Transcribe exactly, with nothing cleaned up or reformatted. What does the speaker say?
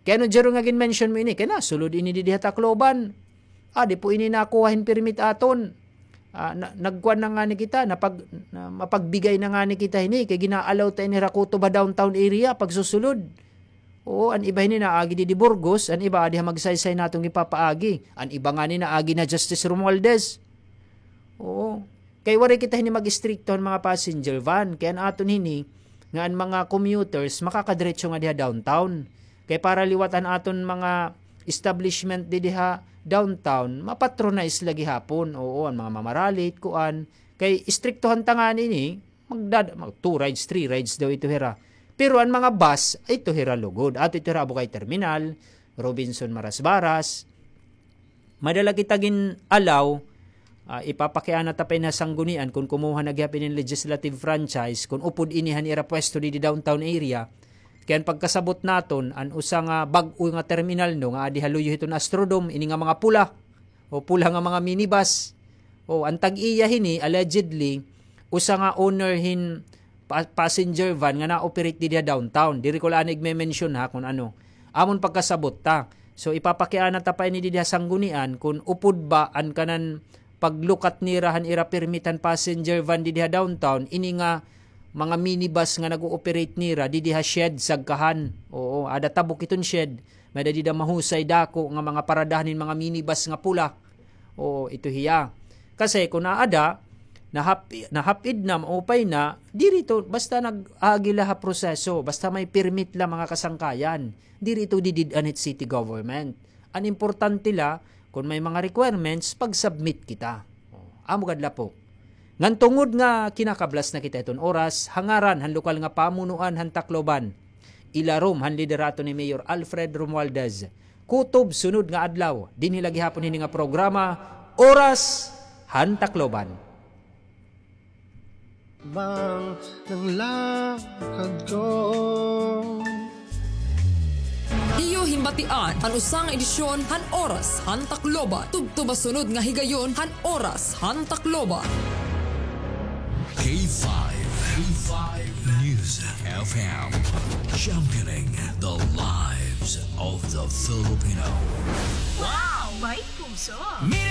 Kay ano, Jero, nga gin-mention mo ini, kay nasulod ini didi ha Tacloban. Ah, di po ini nakuha hin permit aton. Ah, na, nagkuan na ngani kita, napag-, na, mapagbigay na ngani kita hini, kay gina-allow ta ini hira kutob ha downtown area, pagsusulod. Oo, an iba hini naagi didi Burgos, an iba adi ha Magsaysay naton gipapaagi. An iba ngani naagi na Justice Romualdez. Oo. Kay waray kita hini mag-istrikto han mga passenger van. Kay an aton hini, nga an mga commuters, makakadiretso nga diha downtown. Kay para liwat an aton mga establishment didi ha downtown, mapatronize la gihapon. Oo, an mga mamaralit, kuan. Kay istriktohan ta ngani ini, magdad-, mag two rides, three rides daw ito hira. Pero an mga bus, ito hira lugod. Ato ito hira Abukay Terminal, Robinson Marasbaras. May-ada la kita gin-allow, ah, ipapakiana ta pa ini ha sanggunian kon kumuha na gihap ini hin legislative franchise, kon upod ini han ira pwesto didi downtown area. Kay an pagkasabot naton, an usa nga bag-o nga terminal, no, nga adi ha luyo hiton Astrodome, ini nga mga pula, o pula nga mga minibus. O, an tag-iya hini, allegedly, usa nga owner hin pa-, passenger van nga na-operate didi ha downtown. Diri ko la anay igme-mention ha kon ano. Amon pagkasabot ta. So, ipapakiana ta pa ini didi ha sanggunian kon upod ba an kanan paglukat nira han ira permit han passenger van didi ha downtown, ini nga mga minibus nga nag-o-operate nira didi ha shed, sagkahan. Oo, ada tabok iton shed. May-ada dida mahusay dako nga mga paradahan hin mga minibus nga pula. Oo, ito hiya. Kasi kon aada, nahap-, nahap-id na, maupay na, diri ito, basta nag-agi la ha proseso, basta may permit la, mga kasangkayan. Diri ito didid-an hit city government. An importante la, kon may mga requirements, pag-submit kita. O, amo gad la po. Ngan tungod nga kinakablas na kita hiton oras, ha ngaran han lokal nga pamunuan han Tacloban, ilarom han liderato ni Mayor Alfred Romualdez, kutob sunod nga adlaw, dinhi la gihapon hini nga programa, Oras han Tacloban. Bang ng lakad ko. Iyo hinbatian an usa nga edisyon han Oras han Tacloban. Tubtob ha sunod nga higayon han Oras han Tacloban. K five, K five News F M, championing the lives of the Filipino. Wow! May puso!